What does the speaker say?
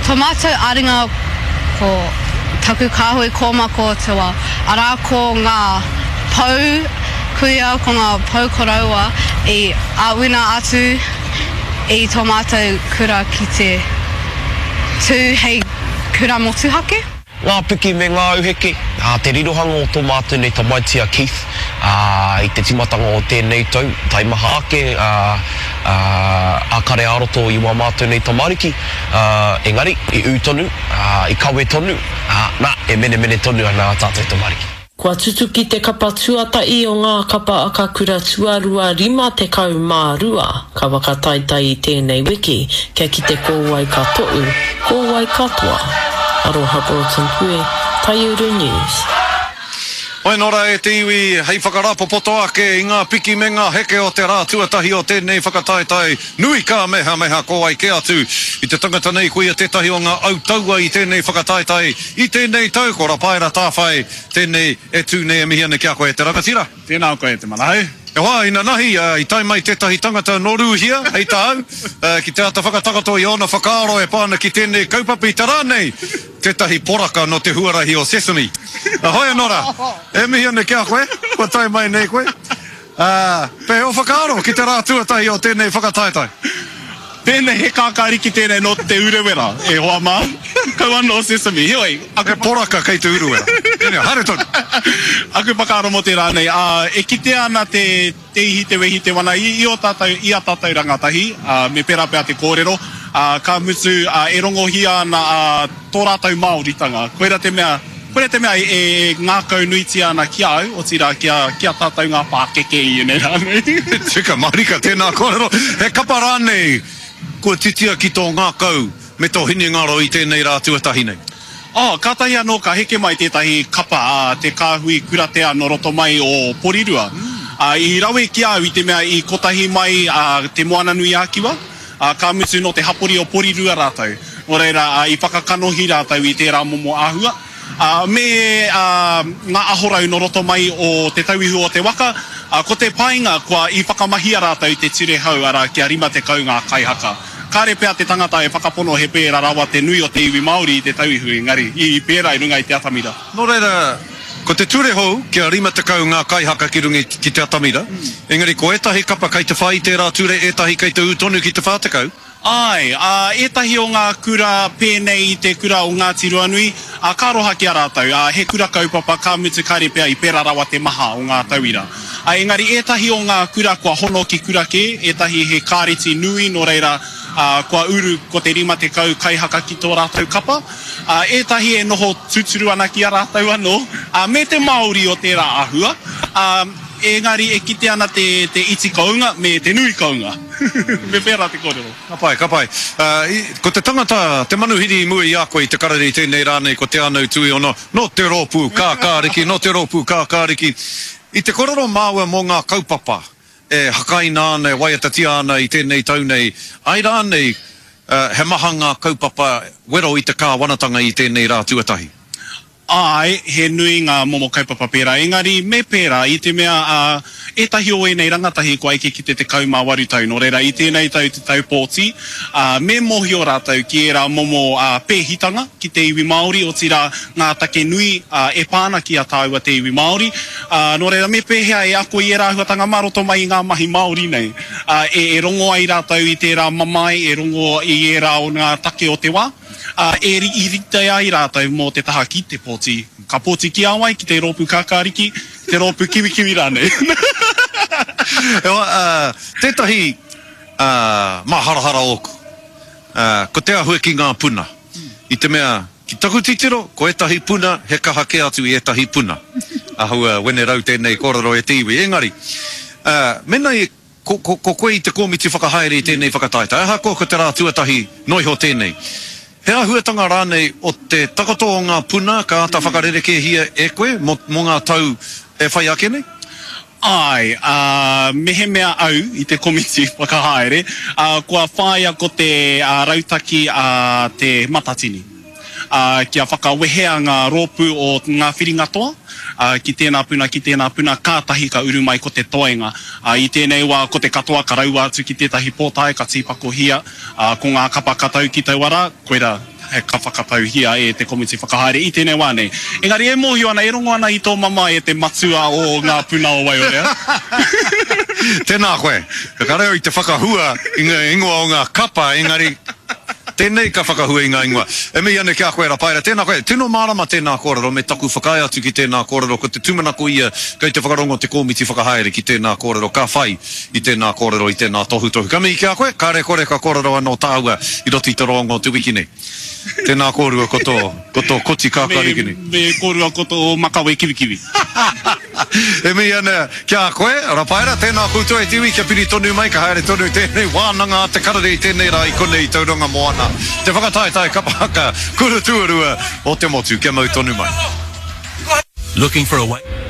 Tō mātou āringa ko taku kāhui kōmako te wā, arā ko ngā pou kuia, ko ngā pou koroua i āwina atu i tō mātou kura ki te tū hei kura motuhake. Ngā piki me ngā auheke, ā, te rirohanga o tō mātou nei tamaiti a Keith, ā, i te tīmatanga o tēnei tau, taimaha ake, ā, ā, a kare ā-roto i wā mātou nei tamariki, ā, engari, i ū tonu, ā, i kawe tonu, ā, nā, e menemene tonu ana ā tātou tamariki. Kua tutuki te kapa tuatahi o ngā kapa akakura tuarua 52 ka whakataetae i tēnei wiki kia kite ko wai ka toʻu, ko wai ka toa. Aroha Broughton Pue, Taiuru News. Whai noa rā e te iwi hei whakarāpopoto ake i ngā piki me ngā heke o te rā tuatahi o tēnei whakataetae nui kāmehameha ko wai kē atu i te tangata nei koia tētahi o ngā autaua i tēnei whakataetae i tēnei tau ko Rapaera Tāwhai tēnei e tū nei e mihi ana ki a koe e te rangatira. Tēnā koe e te Manahau. E hoa, inanahi, i tae mai tētahi tangata nō Rūhia, hei tāu, ki te āta whakatakoto i ōna whakaaro e pā ana ki tēnei kaupapa i te rā nei, tētahi poraka nō te huarahi o Sesame. Hoi anō rā, e mihi ana ki a koe, kua tae mai nei koe. Ā, pēhea ō whakaaro ki te rā tuatahi o tēnei whakataetae? Tēnei, he kākāriki tēnei nō Te Urewera, e hoa mā. Kaua nō Sesame. Heoi, aku. He poraka kei Te Urewera. Tēnei, haere tonu. Aku whakaaro mō te rā nei, ā, e kitea ana te, te ihi, te wehi, te wana i, i ō tātou, i ā tātou rangatahi, ā, me pērā pea te kōrero, ā, ka mutu, ā, e rongohia ana, ā, tō rātou Māoritanga. Koira te mea, koira te mea e ngākaunuitia ana ki a au, otirā ki a, ki a tātou ngā pākeke i ēnei rā nei. Tika mārika tēnā kōrero. He kapa rānei kua titia ki tō ngākau me tō hinengaro i tēnei rā tuatahi nei? Oh, kātahi anō ka heke mai tētahi kapa a te kāhui kuratea nō roto mai o Porirua. Ā, i rawe ki a au i te mea i kotahi mai a Te Moananui-a-Kiwa, Ā, ka mutu nō te hapori o Porirua rātou. Nō reira, ā, i whakakanohi rātou i tērā momo āhua. Ā, me, ā, ngā ahorau nō roto mai o Te Tauihu o te Waka, ā, ko te painga kua i whakamahia rātou te ture hou, arā, kia 50 ngā kaihaka. Kāre pea te tangata e whakapono he pērā rawa te nui o te iwi Māori i Te Tauihu, engari, i pērā i runga i te atamira. Nō reira, ko te ture hou kia 50 ngā kaihaka ki runga ki te atamira, engari ko ētahi kapa kei te whai i tērā ture, ētahi kei te ū tonu ki te 40. Āe, ā, ētahi o ngā kura pēnei i te kura o Ngāti Ruanui, ā, ka aroha ki a rātou, ā, he kura kaupapa, ka mutu kāre pea i pērā rawa te maha o ngā tauira. Ā, engari ētahi o ngā kura kua hono ki kura kē, ētahi he kāreti nui nō reira, ā, kua uru ko te 50 kaihaka ki tō rātou kapa. Ā, ētahi e noho tūturu ana ki a rātou anō, ā, me te Māori o tērā āhua, ā, engari e kite ana te, te iti kounga me te nui kounga. Me pērā te kōrero. Ka pai, ka pai. Ā, i, ko te tangata, te manuhiri i mua i a koe i te karere i tēnei rā nei ko Te Anau Tuiono, nō te rōpū Kākāriki, nō te rōpū Kākāriki. I te korero māua mō ngā kaupapa e hakaina ana, e waiatatia ana i tēnei tau nei, āe rānei he maha ngā kaupapa wero i te kāwanatanga i tēnei rā tuatahi? Āe, he nui ngā momo kaupapa pērā, engari me pērā i te mea ā, ētahi o ēnei rangatahi kua eke ki te 18 tau, nō reira i tēnei tau te tau pōti, ā, me mōhio rātou ki ērā momo ā, pēhitanga ki te iwi Māori, otirā ngā take nui ā, e pā ana ki a tāua te iwi Māori. Ā, nō reira, me pēhea e ako i ērā āhuatanga mā roto mai i ngā mahi Māori nei, ā, e, e rongo ai rātou i tērā mamae, e rongo i ērā o ngā take o te wā, ā, e i rite ai rātou mō te taha ki te pōti. Ka pōti ki a wai? Ki te rōpū kākāriki, te rōpū kiwikiwi rānei. Ewa, ā, tētahi, ā, māharahara ōku, ā, ko te āhua ki ngā puna. I te mea, ki taku titiro, ko ētahi puna he kaha kē atu i ētahi puna. Āhua wenerau tēnei kōrero e te iwi. Engari, mēnā ko, ko, ko koe i te kōmiti whakahaere i tēnei whakataetae, ahakoa ko te rā tuatahi noa iho tēnei, he āhuatanga rānei o te takoto o ngā puna ka āta whakarerekēhia e koe mō, mō ngā tau e whai ake nei? Āe, ā, mehemea au i te komiti whakahaere, ā, kua whāia ko te rautaki a Te Matatini, ā, kia whakawehea ngā rōpū o ngā whiringa toa, ā, ki tēnā puna, ki tēnā puna, kātahi ka uru mai ko te toenga. Ā, i tēnei wā, ko te katoa ka raua atu ki tētahi pōtae, ka tīpakohia, ā, ko ngā kapa ka tau ki taua rā, koirā. ka whakatauhia e te komiti whakahaere i tēnei wā nei. Engari e mōhio ana, e rongo ana i tō mamae e te matua o ngā puna o Waiorea. Tēnā koe. Ka reo i te whakahua i ngā ingoa o ngā kapa, engari tēnei ka whakahua i ngā ingoa. E mihi ana ki a koe Rapaera, tēnā koe. Tino mārama tēnā kōrero me taku whakaae atu ki tēnā kōrero, ko te tūmanako ia kei te whakarongo te kōmiti whakahaere ki tēnā kōrero, ka whai i tēnā kōrero, i tēnā tohutohu. Ka mihi ki a koe, kāre kore ka kōrero anō tāua i roto i te roanga o te wiki nei. Tēnā kōrua ko tō, ko tō koti kākāriki nei. Me, me kōrua ko tō makawe kiwikiwi. E mihi ana ki a koe, Rapaera, tēnā koutou e te iwi kia piri tonu mai, ka haere tonu tēnei wānanga a te karere i tēnei rā i konei i Tauranga Moana, te whakataetae kapa haka kura tuarua o te motu, kia mau tonu mai. Looking for a way.